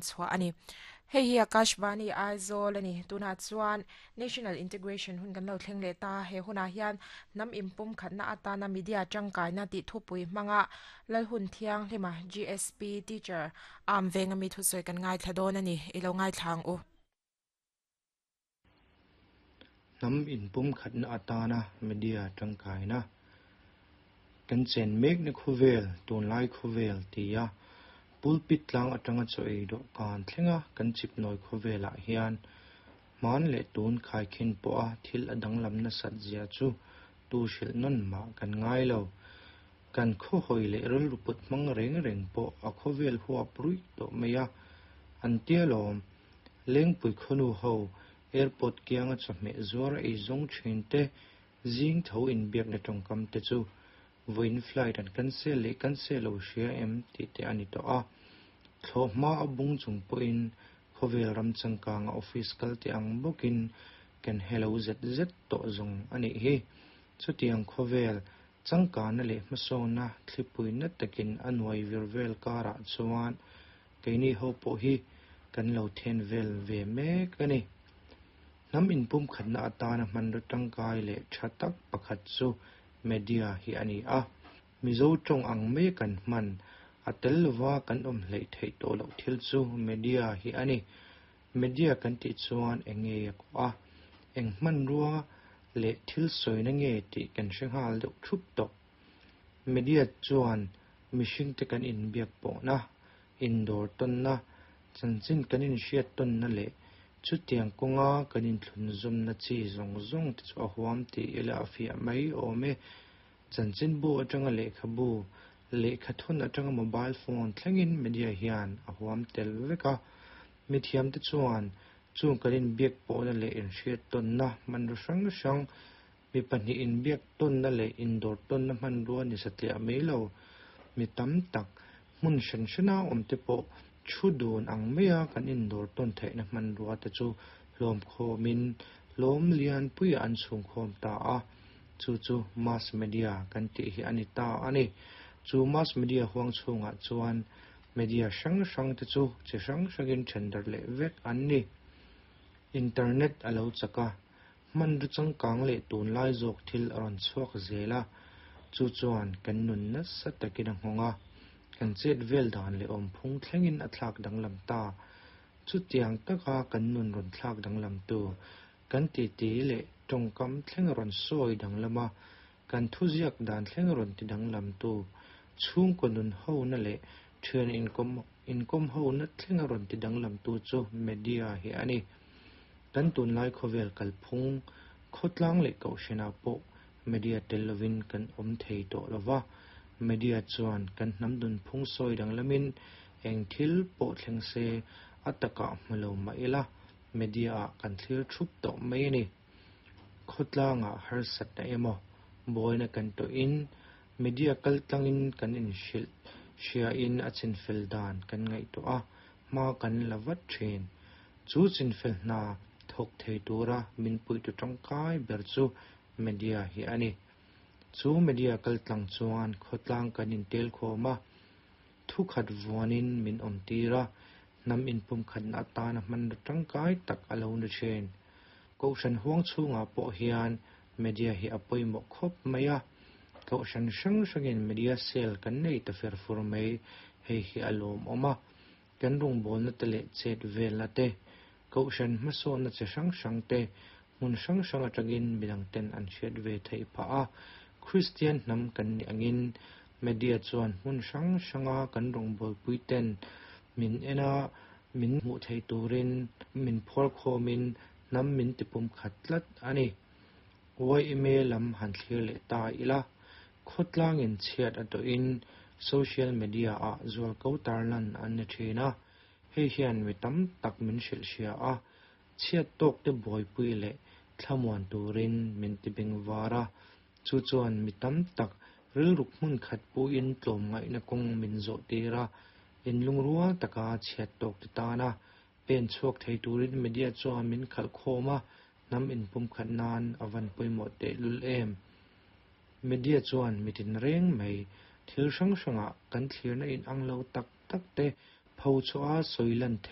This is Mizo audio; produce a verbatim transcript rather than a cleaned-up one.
Chhuah a ni. Hei hi Akashvani Aizawl a ni. Tunah chuan National Integration hun kan lo thleng leh ta. He hunah hian hnam inpum khatna atana media tangkaina tih thupui hmanga Lalhun Thianghlima G S P Teacher am venga mi thusawi kan ngaithla dawn a ni. I lo ngaithla ang u. Hnam inpum khatna atana media tangkaina kan chen mek na khawvel tunlai khawvel tia pulpit tlang atanga chaw ei dawhkan thlenga kan chip nawi khawvelah hian hman leh tun khaikhin pawha thil a danglam nasat zia chu tu hrilh nawn mah kan ngai lo. Kan khawhawi leh rilru put hmang reng reng pawh a khawvel huap ruih tawh mai a. An tia lawm Lengpui khawnu ho airport kianga chawhmeh zuar ei zawng thin te zing tho inbiakna tawngkam te chu vawiin flight an cancel leh cancel lo hria em tih te a ni tawh a. Thlawhhma a bung chung pawhin khawvel ram changkanga office kal te ang bawkin kan hello zet zet tawh zawng a nih hi. Chutiang khawvel changkana leh hmasawnna thlipui na takin a nuai vir vel karah chuan keini ho pawh hi kan lo then vel ve mek a ni. Hnam inpum khatna atana hmanraw tangkai leh tha tak pakhat chu media hi a ni a. Mizo tawng ang mai kan hman a tel lova kan awm hleih theih tawh loh thil chu media hi a ni. Media kan tih chuan eng nge a kawh a, eng hmanrua leh thil sawina nge tih kan hre nghal deuh thup tawh. Media chuan mihringte kan inbiak pawhna, indawr tawnna, chanchin kan inhriat tawnna leh chutiang kawnga kan inthlunzawmna chi zawng zawng te chu a huam tih ila a fiah mai awm e. Chanchinbu atanga lehkhabu, lehkhathawn atanga mobile phone thlengin media hian a huam tel vek a. Mithiam te chuan chung kan inbiak pawhna leh inhriat tawnna hmanraw hrang hrang, mi pahnih inbiak tawnna leh indawr tawnna hmanrua ni satliah mai lo. Mi tam tak hmun hran hrana awm te pawh thu dun ang maia kan indawr tawn theihna hmanrua te chu hlawm khawmin hlawm lian puiah an chhung khawm ta a. Chu chu mass media kan tih hi a ni ta a ni. Chu mass media huang chhungah chuan media hrang hrang te chu chi hrang hrangin then darh leh vek an ni. Internet a lo chak a, hmanraw changkang leh tunlai zawk thil a rawn chhuak zel a. Chu chuan kan nun nasa takin a nghawng a, kan chet vel dan leh awmphung thlengin a thlak danglam ta. Chutiang taka kan nun rawn thlak danglam tu, kan titi leh tawngkam thleng rawn sawi danglam a, kan thuziak dan thleng rawn ti danglam tu, chhungkaw nun hona leh thian inkawm inkawm hona thleng rawn ti danglam tu chu media hi a ni. Kan tunlai khawvel kalphung khawtlang leh kohhranah pawh media tel lovin kan awm thei tawh lova. Media chuan kan hnam nunphung sawi danglamin eng thil pawh thleng se a takah hmu lo mah ila media ah kan thlir thup tawh mai a ni. Khawtlangah harsatna emaw buaina kan tawhin media kaltlangin kan inhrilh hriain a chinfel dan kan ngaihtuah a, hma kan la vat thin. Chu chinfel hna thawk thei tura min puitu tangkai ber chu media hi a ni. Chu media kaltlang chuan khawtlang kan intel khawm a, thu khat vuanin min awm tir a, hnam inpum khatna atana hmanraw tangkai tak a lo ni thin. Kohhran huang chhungah pawh hian media hi a pawimawh khawp mai a. Kohhran hrang hrangin media cell kan nei ta fer fur mai, hei hi a lawmawm a. Kan rawngbawlna te leh chet velna te, kohhran hmasawnna chi hrang hrang te, hmun hrang hrang atangin midang ten an hriat ve theih phah a. Kristian hnam kan nih angin media chuan hmun hrang hranga kan rawngbawlpui ten min en a, min hmuh thei turin min phawr khawmin hnam min tipum khat tlat a ni. Y M A lam han thlir leh ta ila, khawtlangin chhiat a tawhin social media ah zualko tarlan an ni thin a. Hei hian mi tam tak min hrilh hria a, chhiat tawk te buaipui leh thlamuan turin min tibeng var a. Chu chuan mi tam tak rilruk hmun khat puin tlawm ngaihna kawng min zawh tir a, inlungrual taka chhiat tawk te tana pen chhuak thei turin media chuan min khalh khawm a, hnam inpum khat nan a van pawimawh tehlul em. Media chuan mitin reng mai thil hrang hrangah kan thlirna in ang lo tak tak te pho chhuah a sawi lan theih